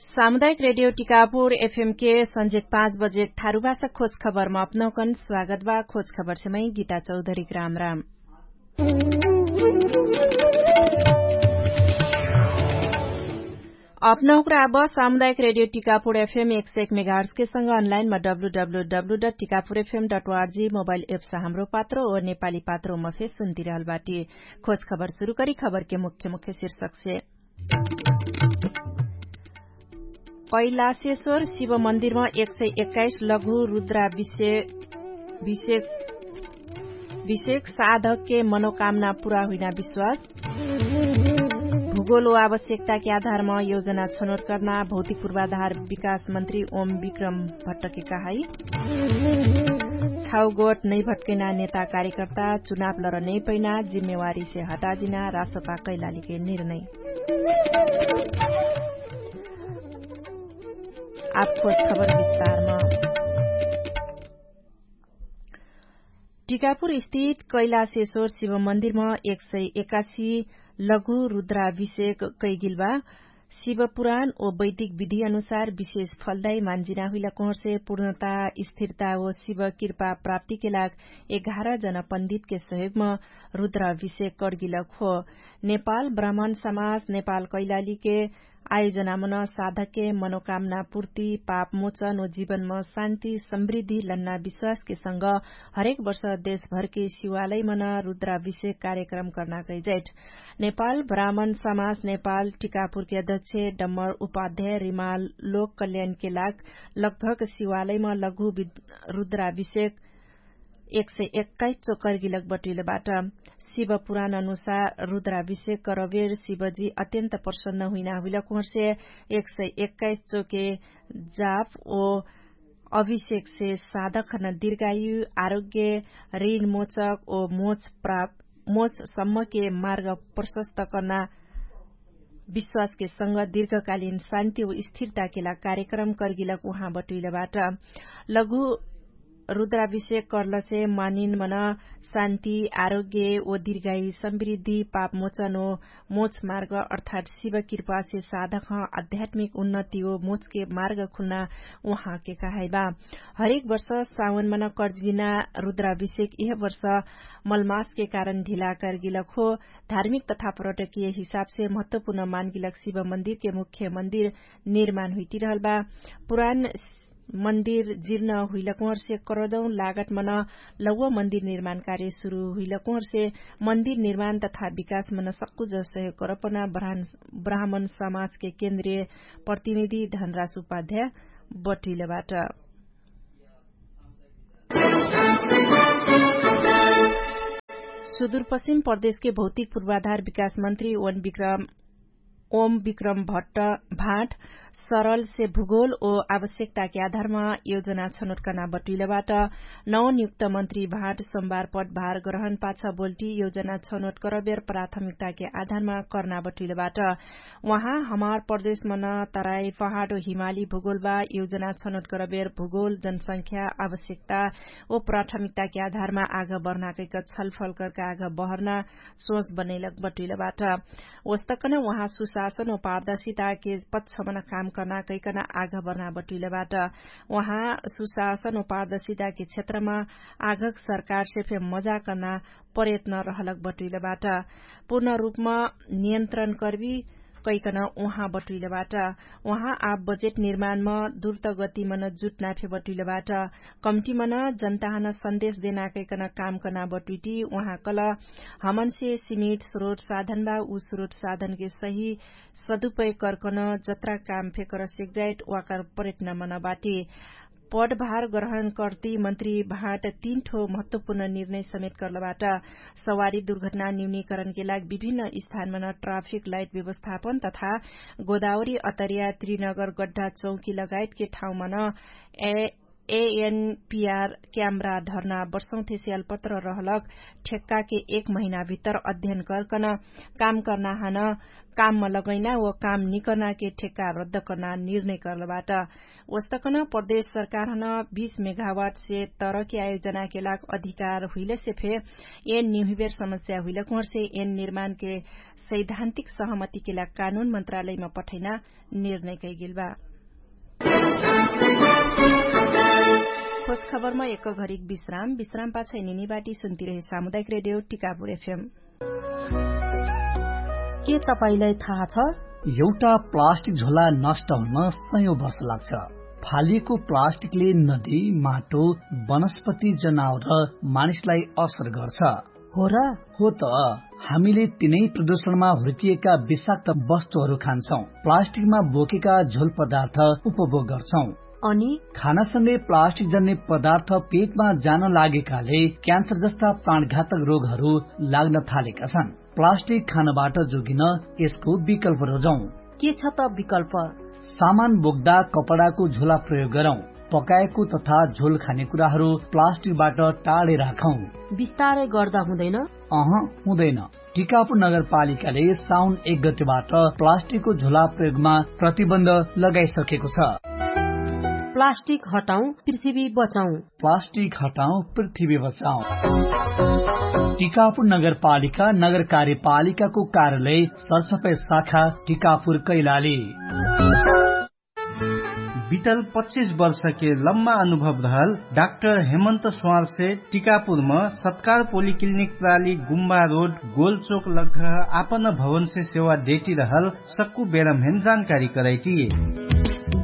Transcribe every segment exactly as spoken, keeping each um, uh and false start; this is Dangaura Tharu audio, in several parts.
सामुदायिक रेडियो टिकापुर एफएमके सन्जेक पाँच बजेक थारुभाषा खोज खबरमा अपनौकन स्वागत बा। खोज खबरसे मै गीता चौधरीक राम राम। अपनौकरा अब सामुदायिक रेडियो टिकापुर एफएम एक सय एक मेगाहर्सके सँग अनलाइनमा W W W dot Tikapur FM dot O R G mobile apps Hamro Patro ओ नेपाली पात्रोमा फे सुन्तिरहल बाटी। खोज खबर सुरु करी खबरके मुख्य मुख्य शीर्षकसे। कैलाशेश्वर शिव मन्दिरमा एक सय एक्काइस लघु रुद्रा विषय विषय विषयक साधकके मनोकामना पुरा हुइना विश्वास। भूगोल व आवश्यकताके आधारमा योजना छनोट कर्ना भौतिक पूर्वाधार विकास मन्त्री ओम विक्रम भट्टके कहाई। छाउगोट नैभट्कैना नेता कार्यकर्ता चुनाव लर नैपैना जिम्मेवारीसे हटाजिना रासोपा कैलालीके निर्णय। आब खोज खबर विस्तारमा। टिकापुर स्थित कैलाशेश्वर शिव मन्दिरमा एक सय एकासी लघु रुद्राभिषेक कैगिल बा। शिव पुराण ओ वैदिक विधि अनुसार विशेष फलदायी मान्जिना हुइला कोहरसे पूर्णता स्थिरता ओ शिव कृपा प्राप्तिके लाग एघार जना पण्डितके सहयोगमा रुद्राभिषेक कर्गिलक हो। नेपाल ब्राह्मण समाज नेपाल कैलालीके आयोजनामन साधकके मनोकामना पूर्ति पाप मोचन ओ जीवनमा शान्ति समृद्धि लन्ना विश्वासके सँग हरेक वर्ष देशभरके शिवालयमन रुद्राभिषेक कार्यक्रम कर्ना कैजैठ। नेपाल ब्राह्मण समाज नेपाल टिकापुरके अध्यक्ष डम्बर उपाध्याय रिमाल लोक कल्याणके लाग लगभग शिवालयमा लघु रुद्राभिषेक एक सय एक्काइस चोकर गिलक बटुइलबाट। शिव पुराण अनुसार रुद्राभिषेक करबेर शिवजी अत्यन्त प्रसन्न हुइना हुइलक उहर्से एक सय एक्काइस चोके जाप ओ अभिषेकसे साधकन दीर्घायु आरोग्य ऋण मोचक ओ मोच प्राप मोच सम्मके मार्ग प्रशस्त कर्ना विश्वासके संग दीर्घकालीन शान्ति ओ स्थिरताके लाग कार्यक्रम कर्गिलक उहाँ बटुइलबाट। लघु रुद्राभिषेक कर्लसे मानिन मन शान्ति आरोग्य ओ दीर्घायु समृद्धि पाप मोचन ओ मोच मार्ग अर्थात शिव कृपासे साधक आध्यात्मिक उन्नति ओ मोचके मार्ग खुन्ना उहाँके कहाइबा। हरेक वर्ष सावनमन कर्जिना रुद्राभिषेक यह वर्ष मलमासके कारण ढिला कर्गिलक हो। धार्मिक तथा पर्यटकीय हिसाबसे महत्वपूर्ण मानगिलक शिव मन्दिरके मुख्य मन्दिर निर्माण हुइटिरहल बा। पुरान मन्दिर जिर्न हुइलक उहर्से करोडौँ लागत मन लौव मन्दिर निर्माण कार्य सुरु हुइलक उहर्से मन्दिर निर्माण तथा विकास मन सक्कु जसहे करपना ब्राह्मण समाजके केन्द्रीय प्रतिनिधि धनराज उपाध्याय बटुइलबाट। सुदूरपश्चिम प्रदेशके भौतिक पूर्वाधार विकास मन्त्री ओम विक्रम भट्ट भाट सरलसे भूगोल ओ आवश्यकताके आधारमा योजना छनोट कर्ना बटुइलबाट। नवनियुक्त मन्त्री भाट सोमबार पटभार ग्रहण पाछ बोल्टी योजना छनोट करबेर प्राथमिकताके आधारमा कर्ना बटुइलबाट। उहाँ हमार प्रदेशमन तराई पहाड ओ हिमाली भूगोल बा योजना छनोट करबेर भूगोल जनसंख्या आवश्यकता ओ प्राथमिकताके आधारमा आग बर्ना कैक छलफल करका आग बहर्ना सोच बनैलक बटुइलबाट। ओस्तकन उहाँ सुशासन ओ पारदर्शिताके पक्षमन काम कर्ना कैकन आग बर्ना बटुइलबाट। उहाँ सुशासन ओ पारदर्शिताके क्षेत्रमा आगक सरकारसे फे मजा कर्ना प्रयत्न रहलक बटुइलबाट। पूर्ण रूपमा नियन्त्रण कर्बी कैकन उहाँ बटुइलबाट। उहाँ आब बजेट निर्माणमा दुर्त गतिमन जुट्ना फे बटुइलबाट। कम्टिमन जनताहन सन्देश देना कैकन काम कर्ना बटुइटी उहाँ कल हमनसे सिमिट स्रोट साधन बा उ स्रोट साधनके सही सदुपय कर्कन जत्रा काम फे कर सेक्जाइट वाकर प्रयत्न मन बाटी। पदभार ग्रहण कर्ती मन्त्री भाट तीन ठो महत्वपूर्ण निर्णय समेत कर्लबाट। सवारी दुर्घटना न्यूनीकरणके लाग विभिन्न स्थानमन ट्राफिक लाइट व्यवस्थापन तथा गोदावरी अतरिया त्रिनगर गड्ढा चौकी लगायतके ठाउँमन ए एएनपिआर क्यामरा ढर्ना वर्षौंथेसे अलपत्र रहलक ठेक्काके एक महिनाभित्तर अध्ययन गर्कन काम कर्ना हन काममा लगैना व काम निकर्नाके ठेक्का रद्द कर्ना निर्णय कर्लबाट। वस्तकन प्रदेश सरकारहन बीस मेघावाटसे तरके आयोजनाके लाग अधिकार हुइलेसे फे एन निहुबेर समस्या हुइलक उहर्से एन निर्माणके सैद्धान्तिक सहमतिके लाग कानुन मन्त्रालयमा पठैना निर्णय कैगेल बा। खोज खबरमा एक घरिक विश्राम विश्राम पाछै निनी बाटी सुन्तिरहे सामुदायिक रेडियो टिकापुर एफएम। के तपाईंलाई थाहा छ? एउटा प्लास्टिक झोला नष्ट हुन सयौं वर्ष लाग्छ। फालिएको प्लास्टिकले नदी, माटो, वनस्पति, जनावर र मानिसलाई असर गर्छ। हो र? हो त। हामीले तिनै प्रदूषणमा हुर्किएका विषाक्त वस्तुहरू खान्छौं, प्लास्टिकमा बोकेका झोल पदार्थ उपभोग गर्छौं। अनि खानासँगै प्लास्टिक जन्ने पदार्थ पेटमा जान लागेकाले क्यान्सर जस्ता प्राणघातक रोगहरू लाग्न थालेका छन्। प्लास्टिक खानबाट जोगिन यसको विकल्प रोजौं। के छ त विकल्प? सामान बोक्दा कपडाको झोला प्रयोग गरौं। पकाएको तथा झोल खाने कुराहरू प्लास्टिकबाट टाढे राखौं। बिस्तारै गर्दा हुँदैन? अह, हुँदैन। टिकापुर नगरपालिकाले साउन एक गतेबाट प्लास्टिकको झोला प्रयोगमा प्रतिबन्ध लगाइसकेको छ। प्लास्टिक हटाउँ, पृथ्वी बचाउँ। प्लास्टिक हटाउँ, पृथ्वी बचाउँ। टिकापुर नगरपालिका नगर कार्यपालिकाको कार्यालय सरसफाई शाखा टिकापुर कैलाली। बितल पच्चिस वर्षके लम्मा अनुभव रहल डाक्टर हेमन्त स्वारसे टिकापुरम सत्कार पोलिक्लिनिक प्राली गुम्बा रोड गोलचोक लग्घ आपन भवनसे सेवा देटी रहल सक्कु बेरम्हेन जानकारी करैटी।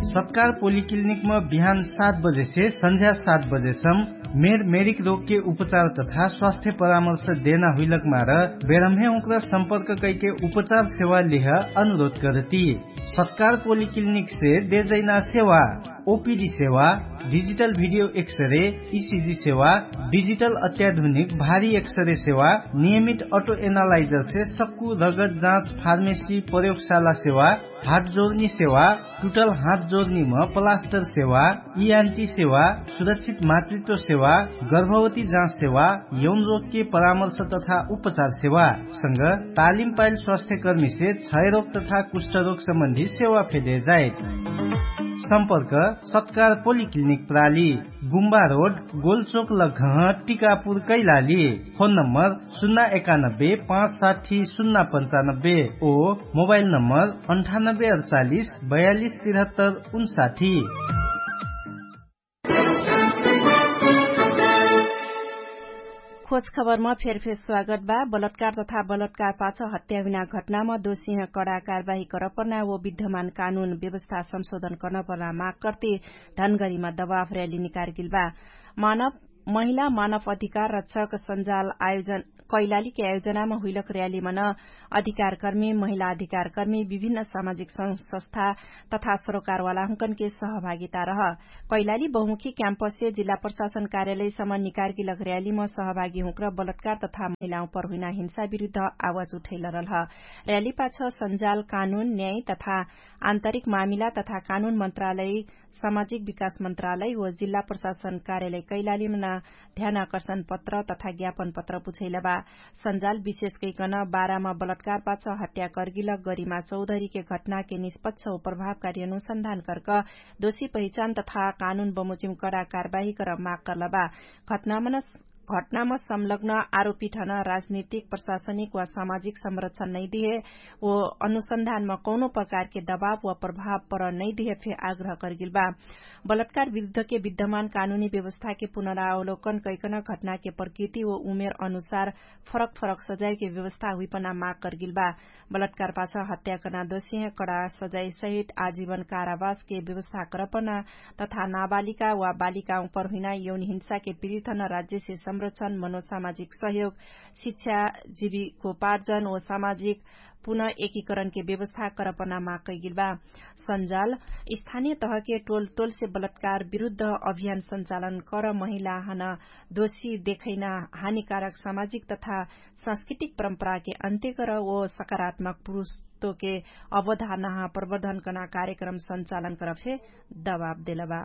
सत्कार पोलिक्लिनिकम बिहान सात बजेसे सन्झ्या सात बजेसम मेर मेरिक रोगके उपचार तथा स्वास्थ्य परामर्श देना हुइलक मार बेरम्हे उक्र सम्पर्क कैके उपचार सेवा लिह अनुरोध करती। सत्कार पोलिक्लिनिकसे देजैना सेवा ओपिडी सेवा, डिजिटल भिडियो एक्सरे, इसिजी सेवा, डिजिटल अत्याधुनिक भारी एक्सरे सेवा, नियमित अटो एनालाइजरसे सक्कु रगत जाँच फार्मेसी प्रयोगशाला सेवा, हात जोर्नी सेवा, टुटल हात जोर्नीम प्लास्टर सेवा, इआन्टी सेवा, सुरक्षित मातृत्व सेवा, गर्भवती जाँच सेवा, यौन रोगके परामर्श तथा उपचार सेवा संग तालिम पाइल स्वास्थ्यकर्मीसे क्षयरोग तथा कुष्ठरोग सम्बन्धी सेवा फेदे जाइत। सम्पर्क सत्कार पोलिक्लिनिक प्राली, गुम्बा रोड, गोलचोक लग्घह, टिकापुर कैलाली। फोन नम्बर सुन्ना एकानब्बे पाँच साठी सुन्ना पन्चानब्बे ओ मोबाइल नम्बर अन्ठानब्बे अडचालिस बयालिस तिरहत्तर उन्साठी। खोज खबरमा फेरफेर स्वागत बा। बलत्कार तथा बलत्कार पाछ हत्या हुइना घटनामा दोषीह कडा कारवाही करपर्ना वो विद्यमान कानुन व्यवस्था संशोधन कर्नपर्ना माग कर्ते धनगरीमा दबाव र्‍याली निकारगेल बा। मानव महिला मानव अधिकार रक्षक सञ्जाल आयोजन कैलालीके आयोजनामा हुइलक र्‍यालीमन अधिकारकर्मी महिला अधिकारकर्मी विभिन्न सामाजिक संस्था तथा सरोकारवाला हुँकनके सहभागिता रह। कैलाली बहुमुखी क्याम्पससे जिल्ला प्रशासन कार्यालयसम्म निकारगेलक र्‍यालीम सहभागी हुँक्र बलत्कार तथा महिलाउँ पर हुइना हिंसा विरुद्ध आवाज उठैलरलह। र्‍याली पाछ सञ्जाल कानुन न्याय तथा आन्तरिक मामिला तथा कानुन मन्त्रालय सामाजिक विकास मन्त्रालय व जिल्ला प्रशासन कार्यालय कैलालीमन ध्यानाकर्षण पत्र तथा ज्ञापन पत्र बुझैला बा। सञ्जाल विशेष कैकन बारामा बलत्कार पाछ हत्या कर्गिलक गरिमा चौधरीके घटनाके निष्पक्ष व प्रभावकारी अनुसन्धान कर्क दोषी पहिचान तथा कानुन बमोजिम कडा कारवाही कर माग कर्ला बा। घटनामन घटनाम संलग्न आरोपिठन राजनीतिक प्रशासनिक वा सामाजिक संरक्षण नैदिहे वो अनुसन्धानमा कौनो प्रकारके दबाव वा प्रभाव पर नैदिहे फे आग्रह कर्गिल बा। बलत्कार विरुद्धके विद्यमान कानुनी व्यवस्थाके पुनरावलोकन कैकन घटनाके प्रकृति वो उमेर अनुसार फरक फरक सजायके व्यवस्था हुइपना माग कर्गिल बा। बलत्कार पाछ हत्या कर्ना दोषीह कडा सजाय सहित आजीवन कारावासके व्यवस्था करपना तथा नाबालिका वा बालिकाउँ पर हुइना यौन हिंसाके पीडितन राज्यसे संरक्षण मनोसामाजिक सहयोग शिक्षा जीविकोपार्जन व सामाजिक पुनः एकीकरणके व्यवस्था करपना माग कैगिल बा। सञ्जाल स्थानीय तहके टोल टोलसे बलत्कार विरुद्ध अभियान सञ्चालन कर महिलाहन दोषी देखैना हानिकारक सामाजिक तथा सांस्कृतिक परम्पराके अन्त्य कर वो सकारात्मक पुरुषत्वके अवधारणाह प्रवर्धन कर्ना कार्यक्रम सञ्चालन कर फे दबाब देलबा।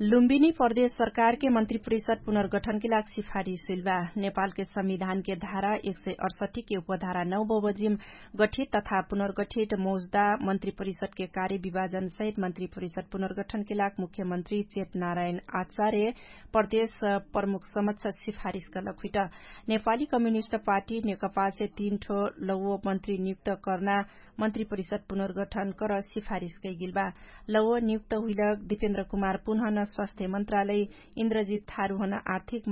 लुम्बिनी प्रदेश सरकारके मन्त्री परिषद पुनर्गठनके लाग सिफारिस हुइलबा। नेपालके संविधानके धारा एक सय अठसठीके उपधारा नौ बबजिम गठित तथा पुनर्गठित मौजदा मन्त्री परिषदके कार्य विभाजनसहित मन्त्री परिषद पुनर्गठनके लाग मुख्यमन्त्री चेत नारायण आचार्य प्रदेश प्रमुख समक्ष सिफारिस गलक हुइट। नेपाली कम्युनिस्ट पार्टी नेकपासे तीन ठो लौव मन्त्री नियुक्त कर्ना मन्त्री परिषद पुनर्गठन कर सिफारिस कैगिलबा। लौव नियुक्त हुइलक दिपेन्द्र कुमार पुनहन स्वास्थ्य मन्त्रालय, इन्द्रजित थारुहन आर्थिक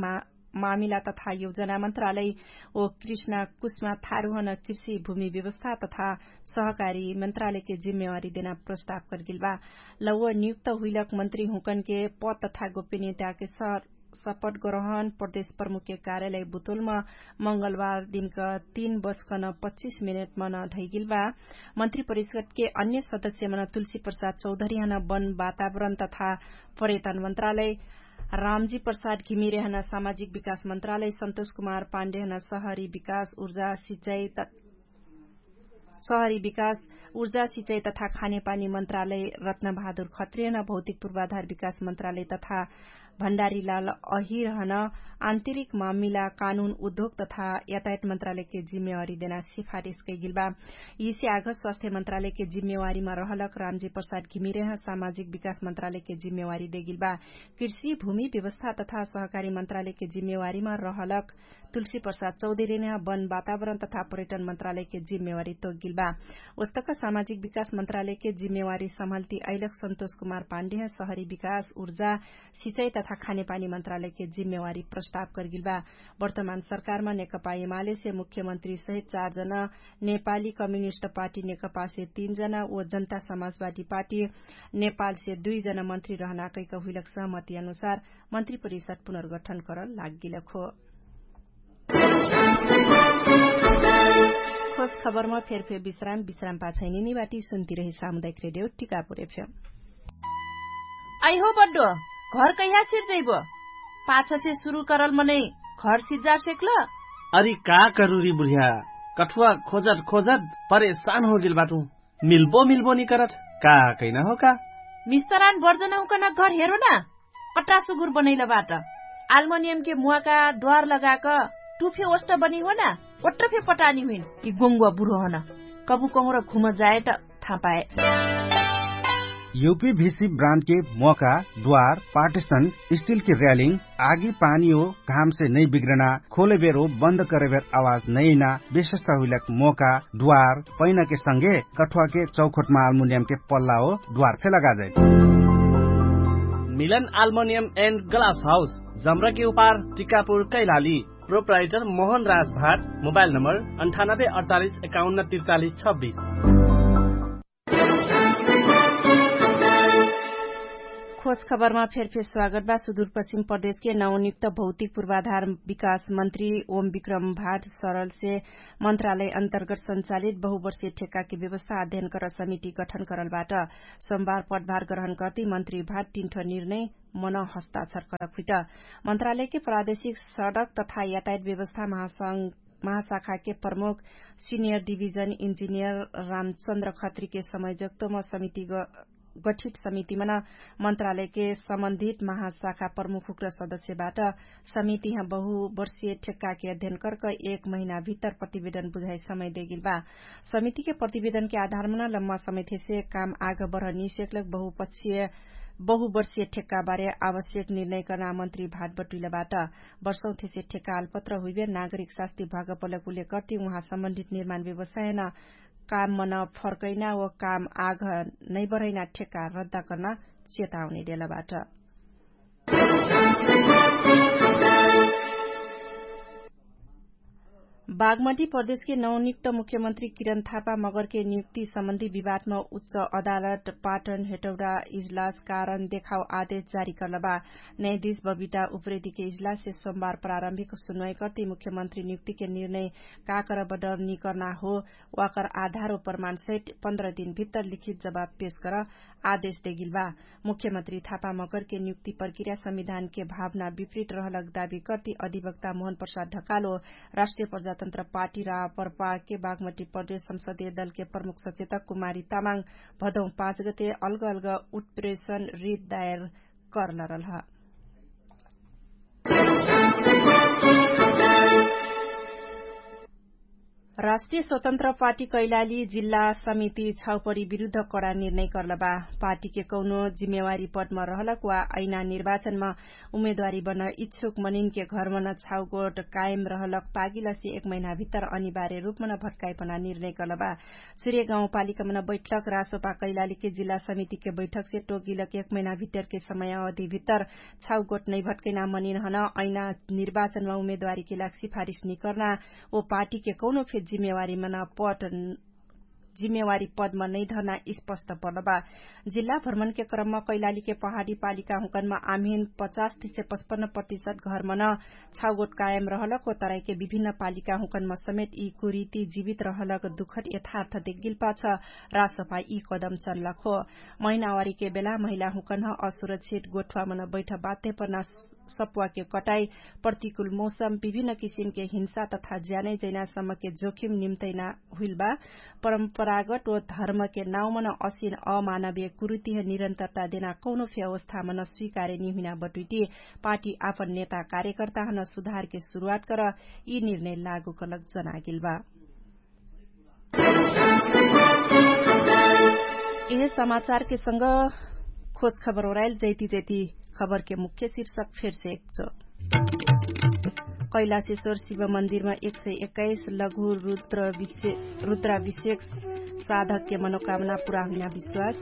मामिला तथा योजना मन्त्रालय, ओ कृष्णा कुष्मा थारुहन कृषि भूमि व्यवस्था तथा सहकारी मन्त्रालयके जिम्मेवारी देना प्रस्ताव कर्गिलबा। लौव नियुक्त हुइलक मन्त्री हुँकनके पद तथा गोपनीयताके सर सपट गरहन प्रदेश प्रमुखके कार्यालय बुतोलम मंगलबार दिनक तीन बजकन पच्चिस मिनेटमन धैगिलबा। मन्त्री परिषदके अन्य सदस्यमन तुलसी प्रसाद चौधरीहन वन वातावरण तथा पर्यटन मन्त्रालय, रामजी प्रसाद घिमिरेहन सामाजिक विकास मन्त्रालय, सन्तोष कुमार पाण्डेहन सहरी विकास ऊर्जा सिचाइ सहरी विकास, ऊर्जा सिचाइ तथा खानेपानी मन्त्रालय, रत्नबहादुर खत्रियन भौतिक पूर्वाधार विकास मन्त्रालय तथा भण्डारीलाल अहिरहन आन्तरिक मामिला कानुन उद्योग तथा यातायात मन्त्रालयके जिम्मेवारी देना सिफारिस कैगिलबा। यिसे आघ स्वास्थ्य मन्त्रालयके जिम्मेवारीमा रहलक रामजी प्रसाद घिमिरेह सामाजिक विकास मन्त्रालयके जिम्मेवारी देगिलबा। कृषि भूमि व्यवस्था तथा सहकारी मन्त्रालयके जिम्मेवारीमा रहलक तुलसी प्रसाद चौधरीने वन वातावरण तथा पर्यटन मन्त्रालयके जिम्मेवारी तोगिलबा। ओस्तक सामाजिक विकास मन्त्रालयके जिम्मेवारी सम्हल्ती अइलक सन्तोष कुमार पाण्डेह सहरी विकास ऊर्जा सिचाइ तथा खानेपानी मन्त्रालयके जिम्मेवारी प्रस्ताव कर्गिलबा। वर्तमान सरकारमा नेकपा एमालेसे मुख्यमन्त्री सहित चार जना, नेपाली कम्युनिस्ट पार्टी नेकपासे तीन जना ओ जनता समाजवादी पार्टी नेपालसे दुइ जना मन्त्री रहना कैक हुइलक सहमति अनुसार मन्त्री परिषद पुनर्गठन करल लागिलक हो। खोज खबरमा फेरफेर विश्राम विश्राम पाछैनिनी बाटी सुन्ती रही सामुदायिक रेडियो टिकापुर एफएम। अइहो बड्डो, घर कैहा सिर जैबो? पाछसे सुरु करल मनै घर सिज्जार सेक्ल? अरी का करुरी बुढिया, कठुवा खोजत खोजत परेशान होगेल बाटु। मिल्बो मिल्बो निकरत का कैना हो का? मिस्तरान बर्जन हुकन घर हेरो ना। अट्रा सुगुर बनैल बाट। आल्मोनियमके मुवाका द्वार लगाक टुफे ओष्ट बनी हो ना। ओट्र फे पटानी हुइन कि गोङ्गुवा बुढो हन। कबु कहुँर घुम जाए त थापाए। युपी भिसी ब्रान्डके मोका, द्वार, पार्टिसन, स्टिलके र्यालिङ, आगी पानी हो घामसे नै बिग्रना, खोलेबेर हो बन्द करेबेर आवाज नैना, विशेषता हुइलक मोका, द्वार, पैनाके संगे कठुवाके चौखोटमा आल्मुनियमके पल्ला हो द्वार फे लगाजै। मिलन आल्मुनियम एन्ड ग्लास हाउस, जम्रके उपार, टिकापुर कैलाली। प्रोप्राइटर मोहन राज भाट। मोबाइल नम्बर अन्ठानब्बे अडचालिस एकाउन्न त्रिचालिस छब्बिस। खोज खबरमा फेरफेर स्वागत बा। सुदूरपश्चिम प्रदेशके नवनियुक्त भौतिक पूर्वाधार विकास मन्त्री ओम विक्रम भाट सरलसे मन्त्रालय अन्तर्गत सञ्चालित बहुवर्षीय ठेक्काके व्यवस्था अध्ययन कर समिति गठन करलबाट। सोमबार पदभार ग्रहण कर्ती मन्त्री भाट तिन्ठ निर्णय मन हस्ताक्षर करक हुइट। मन्त्रालयके प्रादेशिक सडक तथा यातायात व्यवस्था महासंघ महाशाखाके प्रमुख सिनियर डिभिजन इन्जिनियर रामचन्द्र खत्रीके समयजक्तोम समिति गठित समितिमन मन्त्रालयके सम्बन्धित महाशाखा प्रमुख हुक्र सदस्यबाट समितिह बहुवर्षीय ठेक्काके अध्ययन कर्क एक महिना भित्तर प्रतिवेदन बुझाइ समय देगिलबा। समितिके प्रतिवेदनके आधारमन लम्मा समयथेसे काम आग बढ निसेक्लक बहुपक्षीय बहुवर्षीय ठेक्काबारे आवश्यक निर्णय कर्ना मन्त्री भाट बटुइलबाट। वर्षौथेसे ठेक्का आलपत्र हुइबे नागरिक शास्ति भगपलक उल्लेख कर्ति उहाँ सम्बन्धित निर्माण व्यवसायन काम मन फर्कैना व काम आघ नैबरैना ठेक्का रद्दा कर्ना चेताउने देलबाट। बागमती प्रदेशके नवनियुक्त मुख्यमन्त्री किरण थापा मगरके नियुक्ति सम्बन्धी विवादमा उच्च अदालत पाटन हेटौडा इजलास कारण देखाउ आदेश जारी कर्लबा। न्यायाधीश बबिता उप्रेतीके इजलाससे सोमबार प्रारम्भिक सुन्वाइ कर्ति मुख्यमन्त्री नियुक्तिके निर्णय काकर बडर निकर्ना हो वाकर आधार व प्रमाणसहित पन्ध्र दिनभित्तर लिखित जवाब पेश गर आदेश देगिल बा। मुख्यमन्त्री थापा मगरके नियुक्ति प्रक्रिया संविधानके भावना विपरीत रहलक दावी कर्ति अधिवक्ता मोहन प्रसाद ढकालो राष्ट्रिय प्रजातन्त्र पार्टी रापरपाके बागमटी प्रदेश संसदीय दलके प्रमुख सचेतक कुमारी तामाङ भदौं पाँच गते अलग अलग उत्प्रेषण रिट दायर करलरल ह। राष्ट्रिय स्वतन्त्र पार्टी कैलाली जिल्ला समिति छाउपरी विरुद्ध कडा निर्णय कर्लबा। पार्टीके कौनो जिम्मेवारी पदमा रहलक वा ऐना निर्वाचनमा उम्मेदवारी बन्न इच्छुक मनिनके घरमन छाउगोट कायम रहलक पागिलसे एक महिनाभित्तर अनिवार्य रूपमन भट्काइपना निर्णय कर्लबा। चुरे गाउँपालिकामन बैठक रासोपा कैलालीके जिल्ला समितिके बैठकसे टोगिलक एक महिनाभित्तरके समय अवधिभित्तर छाउगोट नैभट्कैना मनिनहन ऐना निर्वाचनमा उम्मेदवारीके लाग सिफारिस निकर्ना ओ पार्टीके कौनो फे जिम्मेवारीमन पट जिम्मेवारी पदमा नैधर्ना स्पष्ट पर्लबा। जिल्ला भ्रमणके क्रममा कैलालीके पहाडी पालिका हुँकनमा आम्हिन पचास तिसे पचपन्न प्रतिशत घरमन छाउगोट कायम रहलक ओ तराइके विभिन्न पालिका हुँकनमा समेत यी कुरीति जीवित रहलक दुखट यथार्थ देगिल्पा छ। रासफा यी कदम चल्लक हो। महिनावारीके बेला महिला हुँकन्ह असुरक्षित गोठवामन बैठ बाध्य पर्ना सप्वाके कटाई प्रतिकुल मौसम विभिन्न किसिमके हिंसा तथा ज्यानै जैनासम्मके जोखिम निम्तैना हुइलबा। परम्परागत ओ धर्मके नाउँमन असिन अमानवीय कुरुतिह निरन्तरता देना कौनो फे अवस्थामन स्वीकारे निहुइना बटुइटी पार्टी आपन नेता कार्यकर्ताहन सुधारके सुरुवात कर यी निर्णय लागु कलक जनागेलबा। यह समाचारके संग खोज खबर ओराइल जैती जैती खबरके मुख्य शिर्षक फेरसे एकचो। कैलाशेश्वर शिव मन्दिरमा एक सय एक्काइस लघु रुद्राभिषेक साधकके मनोकामना पुरा हुइना विश्वास।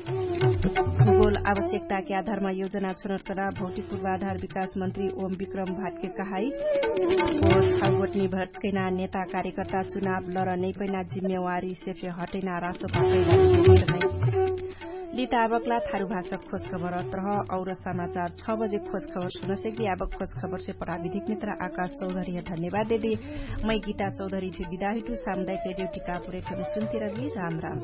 भूगोल आवश्यकताके आधारमा योजना छनोट करा भौतिक पूर्वाधार विकास मन्त्री ओम विक्रम भाटके कहाई। छाउगोटनी भटकैना नेता कार्यकर्ता चुनाव लर नैपैना जिम्मेवारी सेफे हटैना रासो पापैना। लिता आबकला थारु भाषा खोज खबर अत्रह और समाचार छ बजे खोज खबर सुनसेकी आबक खोज खबरसे प्राविधिक मित्र आकाश चौधरीह धन्यवाद देदी। मै गीता चौधरीफे बिदाहिटु सामुदायिक रेडियो टिकापुर एफएम सुन्तिरगी राम राम।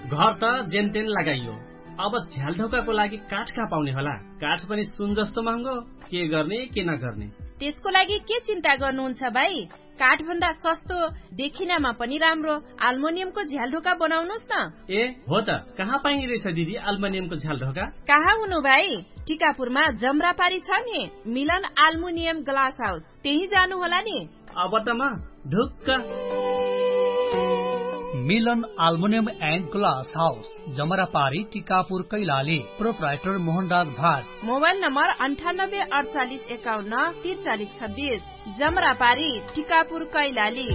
घर त जेनतेन लगाइयो। अब झ्यालढोकाको लागि काठ कहाँ पाउने होला? काठ पनि सुन जस्तो महँगो। के गर्ने के नगर्ने? त्यसको लागि के चिन्ता गर्नुहुन्छ भाइ? काठभन्दा सस्तो, देखिनामा पनि राम्रो आल्मोनियमको झ्यालढोका बनाउनुस् न। ए हो त, कहाँ पाइने रहेछ दिदी आल्मोनियमको झ्यालढोका? कहाँ हुनु भाइ? टिकापुरमा जम्रापारी छ नि, मिलन आल्मुनियम ग्लास हाउस, त्यही जानु होला नि। अब त म ढुक्क। मिलन आल्मुनियम एन्ड ग्लास हाउस, जमरापारी टिकापुर कैलाली। प्रोप्राइटर मोहनराज भाट। मोबाइल नम्बर अन्ठानब्बे अडचालिस एकाउन्न तिरचालिस छब्बिस। जमरापारी टिकापुर कैलाली।